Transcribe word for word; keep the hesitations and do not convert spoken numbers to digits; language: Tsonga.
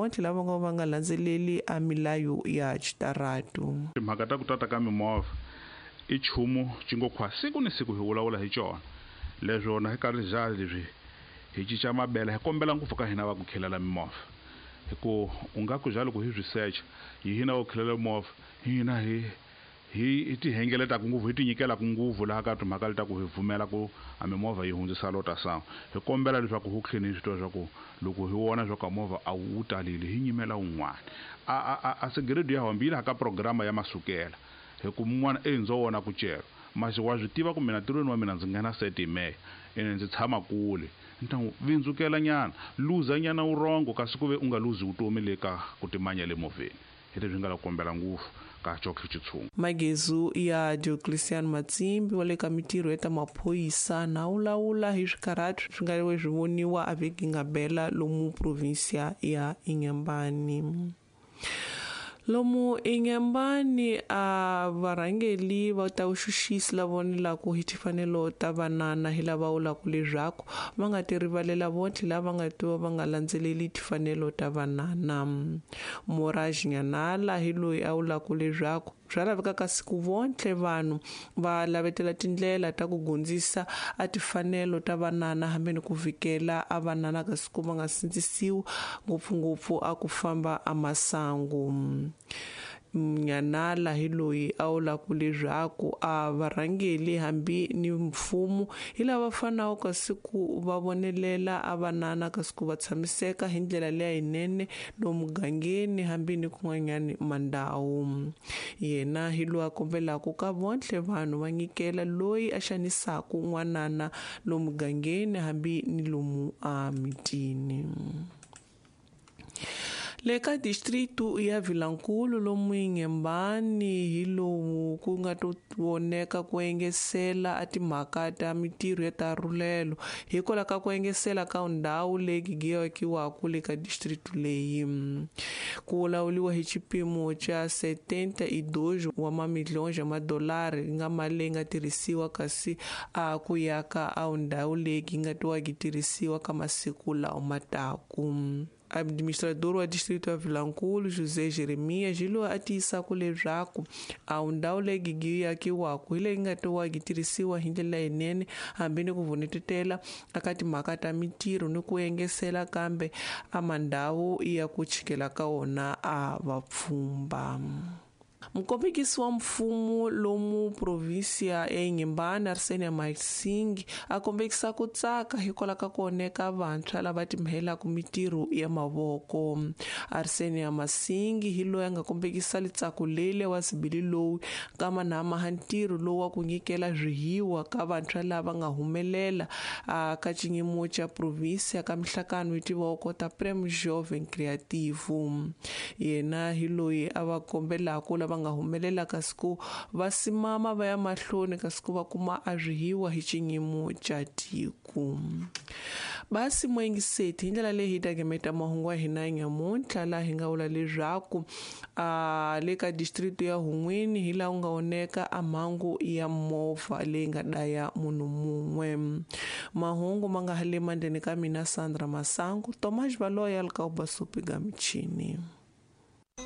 vontlhe lava nga va nga landzeleli a milayo ya xitaratu. Timhaka ta ku tata ka mimovha i nchumu cingokhwa siku ni siku hi vulavula hi cona leswona hi karhi bya leswi hi cinca mabele hi kombela ngopfu ka hina va ku khelela mimovha hi ku u nga ku bya loko hi swi secha hi hina va ku khelela mimovha hina hi hi ti hengeletaka ngopfu hi ti nyikelaka ngopfu laha ka timhaka leta ku hi pfumela ku a mimovha yi hundzisa lota sangu hi kombela leswaku hu tlheni hi swi tiva leswaku loko hi vona swa ku movha a wu talile hi nyimela wun'wana a a a segredo ya hambi yi laha ka programa ya masukela hi ku mun'wana e ndzo vona ku cela masi wa swi tiva ku mina ntirhweni wa mina ndzi nghena seti hi meya ene ndzi tshama kule ni ta n'wi vindzukela nyana luza nyana wurongo kasi ku ve u nga luzi vutomi le ka ku timanya le movheni hi leswi nga la kombela ngopfu ka Chokwe Chitshungu. Magezu ya Diocletian Matsimbi wa le ka mitirho ya ta maphorisa na wulawula hi swikarhati swi nga swi voniwa a vhiki nga bela lomu provinsia ya Inhambane. Lomu Inhambane a varhangeli va ta vuxuxisi lava vonelaku hi timfanelo ta vanana hi lava vulaka leswaku va nga ti rivalela vontlhe lava nga tiva va nga landzeleli timfanelo ta vanana. Moraj Nyanala hi loyi a vulaka leswaku swa laveka ka siku vontlhe vanhu va lavetela tindlela ta ku gundzisa a timfanelo ta vanana hambi ni ku vikela a vanana ka siku va nga sindzisiwi ngopfungopfu a ku famba a masangu. Nyanala hi loyi a vulaka leswaku a varhangeli hambi ni mfumo hi lava fanaka ka siku va vonelela a vanana ka siku va tshamiseka hi ndlela leyinene lomu mugangeni hambi ni kun'wanyani mandhawu. Yena hi loyi a kombelaka ka vontlhe vanhu va nyikela loyi a xanisaka n'wanana lomu mugangeni hambi ni lomu a mitini. Le ka distritu ya Vilankulu lomu Inhambane hi lowu ku nga to voneka ku engesela a timhaka ta mitirho ya ta rhulelo hikwalaho ka ku engesela ka ndhawu leyi gigiwaku le ka distritu leyi. Ku vulavuriwa hi xipimo xa setenta e dois wa mamilhões ya madolari yi nga mali leyi nga tirhisiwa kasi a ku yaka a ndhawu leyi yi nga tiwa yi tirhisiwa ka masiku lawa ma taku. Administrador wa distrito ya Vilankulu José Jeremias hi loyi a tiyisaka leswaku a ndhawu leyi gigiwaku hi leyi nga tiwa yi tirhisiwa hi ndlela leyinene hambi ni ku vunetetela eka timhaka ta mitirho ni ku engesela kambe a mandhawu ya ku chikela ka wona a vapfhumba. Mukombekisi wa mfumo lomu provinsia ya Inhambane Arsenia Masingi a kombekisa ku tsaka hikwalaho ka ku oneka vantshwa lava timhelaka mitirho ya mavoko. Arsenia Masingi hi loyi a nga kombekisa litsako lele wa sibili lowu kama na maha ntirho lowu wa ku nyikela swihiwa ka vantshwa lava nga humelela ka xinyimo xa provinsia ka mihlakano yi tiviwaka ta Prêmio Jovem Criativo. Yena hi loyi a va kombelaka lava nga humelela ka siku va simama va ya mahlweni ka siku va kuma a swihiwa hi xinyimo xa tiko. Basi moyingiseti hi ndlela leyi hi ta gemeta mahungu ya hina nyamuntlha laha hi nga vula leswaku a le ka district ya Hun'wini hi laha ku nga oneka a mhangu ya movha leyi nga daya munhu mun'we. Mahungu ma nga ha le mandleni ka mina Sandra Masangu, Tomas Valoya ka Ubasupi ga michini.